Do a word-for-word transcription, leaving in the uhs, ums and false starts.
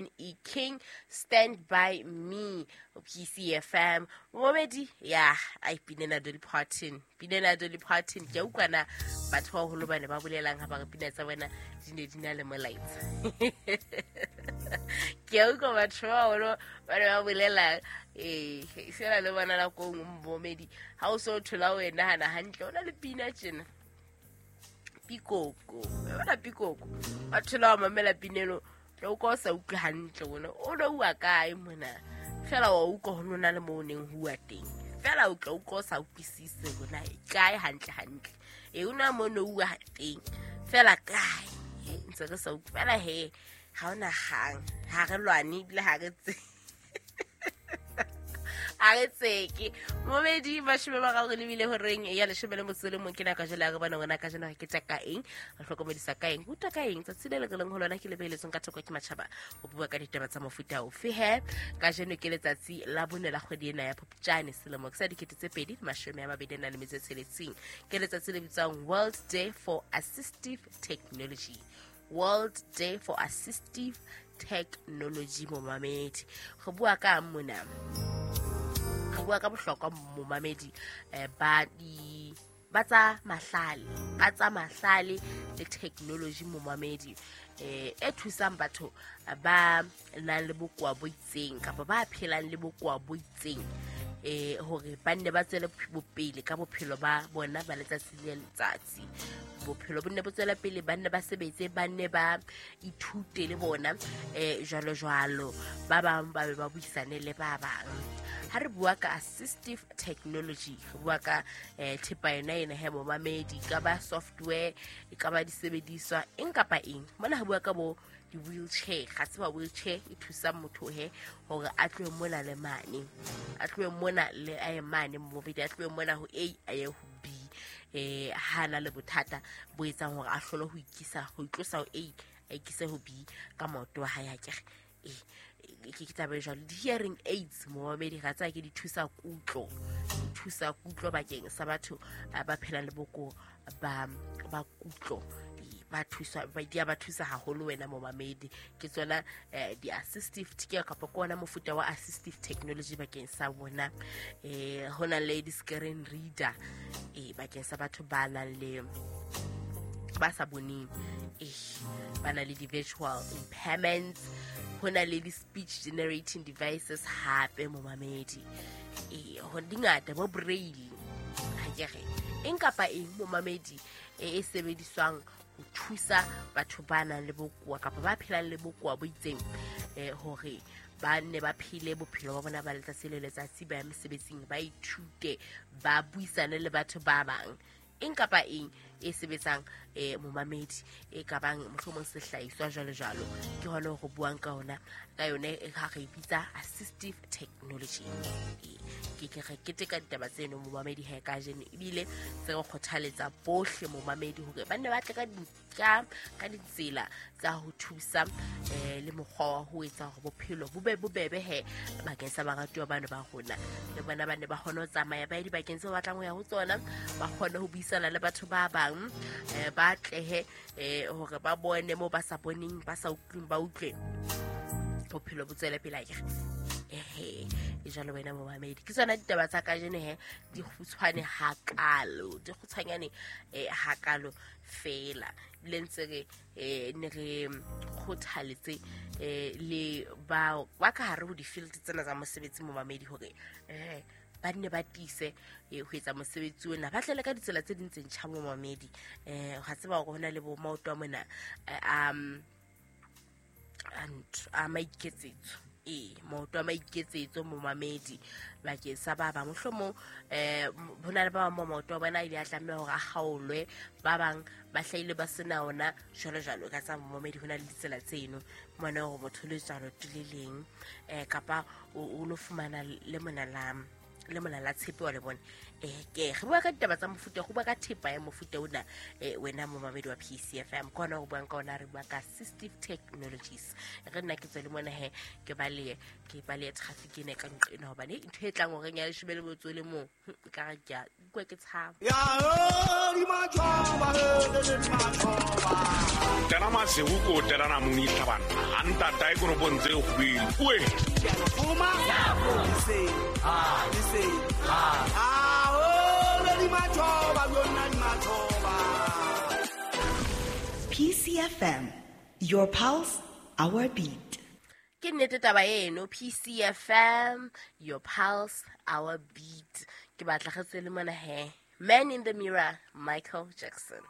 Ben E. King, Stand By Me, P C F M. Momedi, ya, ai pinena Dolly Parton. Pinena Dolly Parton. Ke utlwa na batho ba holo bane ba bolelang ha ba re pina tsa bona di ne di na le molaetsa. Ke utlwa batho ba holo ba ne ba bolelang, eh, sena le bona la kong momedi. Ha o so thola o e nahana hantle, o na le pina tjena. Pikoko, bona pikoko. Ba thola wa mamela pinelo, o ka o sa utlwe hantle bona. O lo bua kae mona? Fela wa utlwa ho nona le mo o neng ho bua teng. Fela o tla utlwa o sa utlwisise bona kae hantle hantle. E una mo no bua teng. Fela kae? Ntse re sa utlwe. Fela he, ha ona hang. Ha re lwane ebile ha re tse. A re tseke. Momedi mashome a mararo le bile horeng ya leshome le motso le mong ke nako jwale ya re bona ngwana ka jeno ke tsa ka eng, re hlokomedisa ka eng, utlwa ka eng. Tsatsi le le re leng ho lona ke le beheletsweng ka thoko ke matjhaba ho bua ka ditaba tsa mofuta ofe he. Kajeno ke letsatsi la bone la kgwedi ena ya Phupjane selemo sa dikete tse pedi mashome a mabedi a nang le metso e tsheletseng. Ke letsatsi le bitswang World Day for Assistive Technology. World Day for Assistive Technology momamedi. Re bua ka mona. Re bua ka bohlokwa momamedi eh, ba di ba tsa mahlale, ba tsa mahlale le technology momamedi eh, e thusang batho ba nang le bokowa bo itseng kapa ba phelang le bokowa bo itseng eh, hore ba nne ba tswele pele ka bophelo ba bona ba letsatsi le letsatsi. Bophelo bo nne bo tswela pele, ba nne ba sebetse, ba nne ba ithute le bona eh, jwalo jwalo. Ba bang ba be ba buisane le ba bang. Ha re bua ka assistive technology, re bua ka eh, thepa yona ena he momamedi, ka ba software, e ka ba disebediswa, eng kapa eng. Mona re bua ka bo di-wheelchair. Ga se ba wheelchair e thusa motho he hore a tlohe mona le mane, a tlohe mona le a ye mane momamedi, a tlohe mona ho A a ye ho B. Eh, ha na le bothata bo etsang hore a hlole ho ikisa, ho itlosa ho A a ikise ho B ka maoto a hae akere. Eh, ke ke taba e jwalo. Di-hearing aids momamedi ga tsa ke di thusa kutlo, di thusa kutlo bakeng sa batho ba phelang le boko ba ba kutlo. Ba thusa, ba di a ba thusa haholo wena momamedi. Ke tsona eh, di-assistive ke kapa ke ona mofuta wa assistive technology bakeng sa bona. Eh, ho na le di-screen reader eh, bakeng sa batho ba nang le ba sa boneng, eh, ba na le di-visual impairments. Ho na le di-speech generating devices hape momamedi. Eh, ho di ngata bo braille. Ha ke re eng kapa eng momamedi e e sebediswang ho thusa batho ba nang le bokowa kapa ba phelang le bokowa bo itseng eh, hore ba nne ba phele bophelo ba bona ba letsatsi le letsatsi, ba ya mesebetsing, ba ithute, ba buisane le batho ba bang. Eng kapa eng e sebetsang eh, momamedi e ka bang mohlomong sehlahiswa jwalo jwalo, ke hona ho buang ka ona ka yone ha re bitsa assistive technology. Ke ke re keteka ditaba tseno momamedi he kajeno, ebile tse re kgothaletsa bohle momamedi hore ba nne ba tle ka ka ka ditsela tsa ho thusa eh, le mokgwa wa ho etsa hore bophelo bo be bobebe he bakeng sa baratuwa bano ba rona. Le bona ba ne ba kgone ho tsamaya ba ye dibakeng tseo ba batlang ho ya ho tsona, ba kgone ho buisana le batho ba bang, eh, ba tlehe eh, hore ba bone moo ba sa boneng, ba sa utlweng, ba utlwe, bophelo bo tswele pele akere. Ehe, e jwalo wena momamedi. Ke tsona ditaba tsa kajeno he, di kgutshwane hakalo, di kgutshwanyane eh, hakalo fela. Ebile ntse re eh, ne re kgothaletse eh, le ba ba ka hare ho di-field tsena tsa mosebetsi momamedi hore eh, ba nne ba tiise ho etsa mosebetsi ona, ba tlele ka ditsela tse ding tse ntjha momamedi. Eh, ga tseba hore hona le bo maoto a mona um a maiketsetso, e maoto a maiketsetso momamedi bakeng sa ba bang. Mohlomong eh ho na le ba bang ba maoto a bona ile a tlameha hore a kgaolwe, ba bang ba hlahile ba sena ona jwalo jwalo. Ka tsa momamedi ho na le ditsela tseno mona hore motho le tswalo le leng eh, kapa o lo fumana le mona la le molala tshepe wa le bone. Eh ke re bua ka ditaba tsa mofuta, go bua ka thepa ya mofuta ona, eh wena momamedi wa P C F M kona go buang ka ona, re bua ka Assistive Technologies. Re nna ke tswe le mona he ke ba le ke ba le traffic ene ka nqena hobane ntho e tlang horeng ya leshome le motso le mong ka re ke a utlwa ke tshaba. Ya di matjhoba le di matjhoba. Tena masewu ko tena na muni tlhabana. Anta tai ko bontse go bile. Oe. Fuma. Se. Ah, se. Ah, oh, le di matjhoba yona di matjhoba. P C F M, your pulse, our beat. Ke nnete taba eno, P C F M, your pulse, our beat. Ke batla re tswele mona he. Man in the Mirror, Michael Jackson.